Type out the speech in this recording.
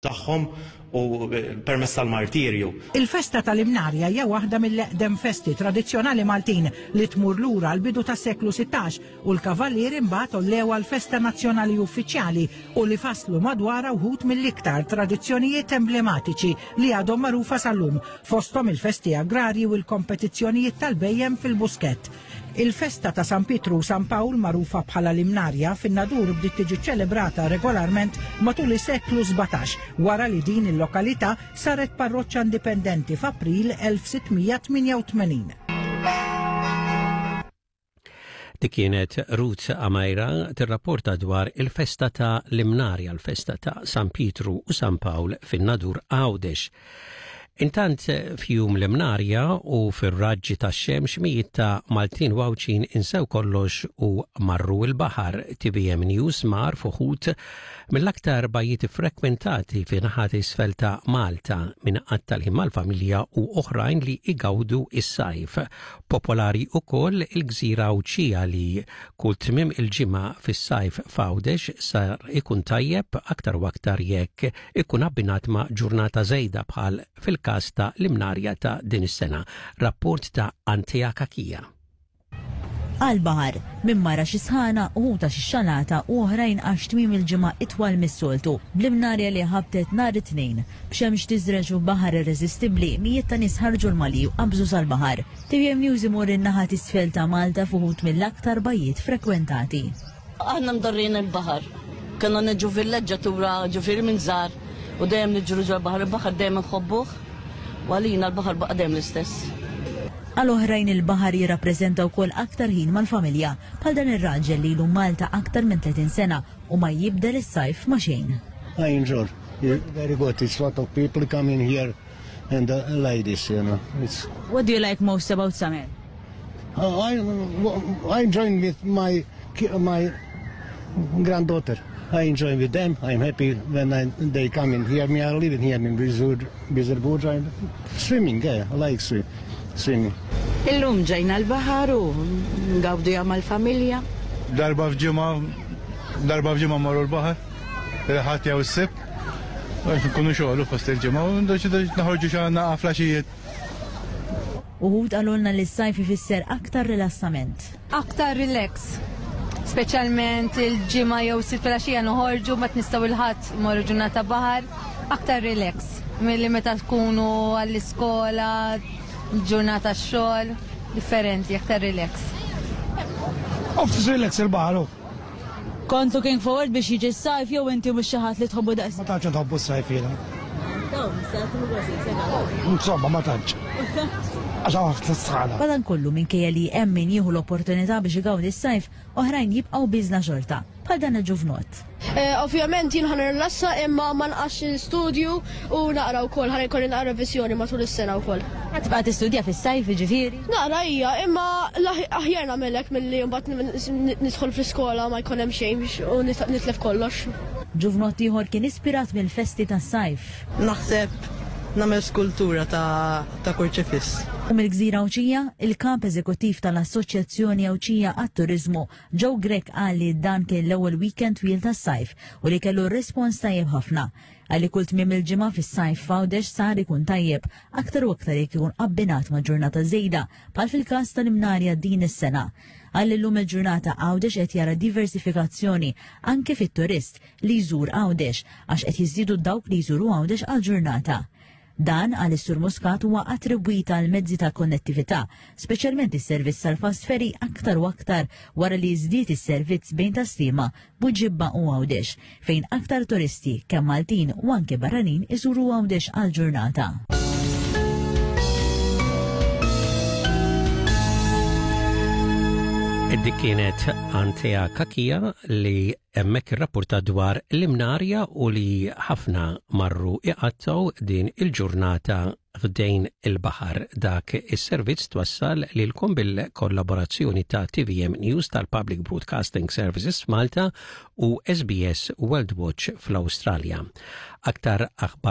Tagħhom u permezz tal-martirju. Il-festa tal-Imnarja hija waħda mill-eqdem festi tradizzjonali Maltin li tmur lura għall-bidu tas-seklu 16 u l-Kavallieri mbagħad għollewha l-festa nazzjonali uffiċjali u li fasslu madwarha wħud mill-iktar tradizzjonijiet emblematiċi li għadhom magħrufa sal-lum, fosthom il-festi agrarji u l-kompetizzjonijiet tal-bhejjem fil-Buskett. Il-festa ta' San Pietru u San Pawl, magħrufa bħala l-Imnarja, fin-Nadur bdiet tiġi ċċelebrata regolarment matul is-seklu 17, wara li din il-lokalità saret parroċċa indipendenti f'April 1688. Dik kienet Ruth Amajra tirrapporta dwar il-festa ta' l-Imnarja, l-festa ta' San Pietru u San Pawl fin-Nadur Għawdex. Intant f'jum l-Imnarja u fir-raġġi tax-xemx mijiet ta' Maltin u Għawdxin insew kollox u marru l-baħar. TVM News mar f'uħud mill-aktar bajjiet iffrekwentati fi naħat isfel ta' Malta min qatta' l-ħin mal-familja u oħrajn li igawdu s-sajf. Popolari ukoll il-gżira Għawdxija li kull tmiem il-ġimgħa fis-sajf f'Għawdex sar ikun tajjeb aktar u aktar jekk ikun abbinat ma' ġurnata żejda bħal fil-każ ta' l-Imnarja ta' din is-sena. Rapport ta' Antea Cachia. Għall-baħar, min mar għax is-sħana, uħud għax ix-xalata u oħrajn għax tmiem il-ġimgħa itwal mis-soltu. Bl-Imnarja li ħabtet nhar it-Tnejn, b'xemx tiżreġ u baħar irreżistibbli, mijiet ta' nies ħarġu l-malji u qabżu sal-baħar. Tvm News imur in-naħa t'isfel ta' Malta f'uħud mill-aktar bajjiet frekwentati. Aħna mdorrijin il-baħar. Konna niġu villeġġatura ġifieri minn żgħar u dejjem niġru ġol-baħar. Il-baħar dejjem inħobbuh u għalina l-baħar baqa' dejjem l-istess. Għal oħrajn il-baħar jirrappreżenta wkoll aktar ħin mal-familja, bħal dan ir-raġel li ilu Malta aktar minn 30 sena u ma jibdel is-sajf ma' xejn. I enjoy. Very good. It's lot of people coming here and the ladies, you know. It's... What do you like most about summer? Uh, I, I enjoy with my my granddaughter. I enjoy with them. I'm happy when I, they come in here. Me, I live in here in Birżebbuġa. Swimming, yeah, I like swim, swimming. Illum ġejna l-baħar u ngawduha mal-familja. Darba f'ġimgħa, darba f'ġimgħa mmorru l-baħar, il-Ħadd jew is-Sibt, għax nkunu xogħol u fost il-ġimgħa u noħorġu xi naqa' flaxijiet. Uħud qalulna li s-sajf ifisser aktar rilassament. Aktar relax. Speċjalment il-ġimgħa jew sitt filgħaxija noħorġu mbagħad nistgħu il-Ħadd mmorru ġurnata baħar. Aktar relax milli meta tkunu għall-iskola, ġurnata xogħol, differenti, aktar relax. Off relax il-baħar. Kont looking forward biex jiġi s-sajf jew inti mhux xi ħadd li tħobbu daqs? Ma tantx nħobbu s-sajf jiena. Insomma, ma tantx. Għax hawn ħafna sħana. Madankollu, minkejja li hemm min jieħu l-opportunità biex igawdi s-sajf, oħrajn jibqgħu bieżna xorta, bħal dan il-ġuvnott. Ovvjament jien ħa nirrilassa imma ma nqax l-istudju u naqra wkoll ħa jkolli naqra reviżjoni matul is-sena wkoll. Ħa tibqa' tistudja fis-sajf jiġifieri? Naqra hija, imma aħjar nagħmel hekk milli mbagħad nidħol fl-iskola ma jkun hemm xejn u nitlef kollox. Ġuvnott ieħor kien ispirat mill-festi tas-sajf. Naħseb nagħmel skultura ta' ta' kurċifiss. U mill-gżira Għawdxija, il-Kap Eżekuttiv tal-Assoċjazzjoni Għawdxija għat-Turiżmu, Joe Grech qal li dan kien l-ewwel weekend twil tas-sajf u li kellu rispons tajjeb ħafna. Qal li kull tmiem il-ġimgħa fis-sajf f'Għawdex sar ikun tajjeb, aktar u aktar jekk ikun abbinat ma' ġurnata żejda, bħal fil-każ tal-Imnarja din is-sena. Qal li llum il-ġurnata Għawdex qed jara diversifikazzjoni anke fit-turist li jżur Għawdex għax qed jiżdiedu dawk li jżuru Għawdex għal ġurnata. Dan, qal is-Sur Muscat, huwa attribwit għal mezzi ta' konnettività, speċjalment is-servizz tal-fast ferry aktar u aktar wara li żdied is-servizz bejn Tas-Sliema, Buġibba u Għawdex, fejn aktar turisti, kemm Maltin u anke barranin iżuru Għawdex għal ġurnata. Dik kienet Antea Kakija li Hemmhekk irrappurtat dwar l-Imnarja u li ħafna marru iqattgħu din il-ġurnata ħdejn il-baħar. Dak is-servizz twassal lilkom bil-kollaborazzjoni ta' TVM News tal-Public Broadcasting Services f'Malta u SBS World Watch fl-Awstralja. Aktar aħbar.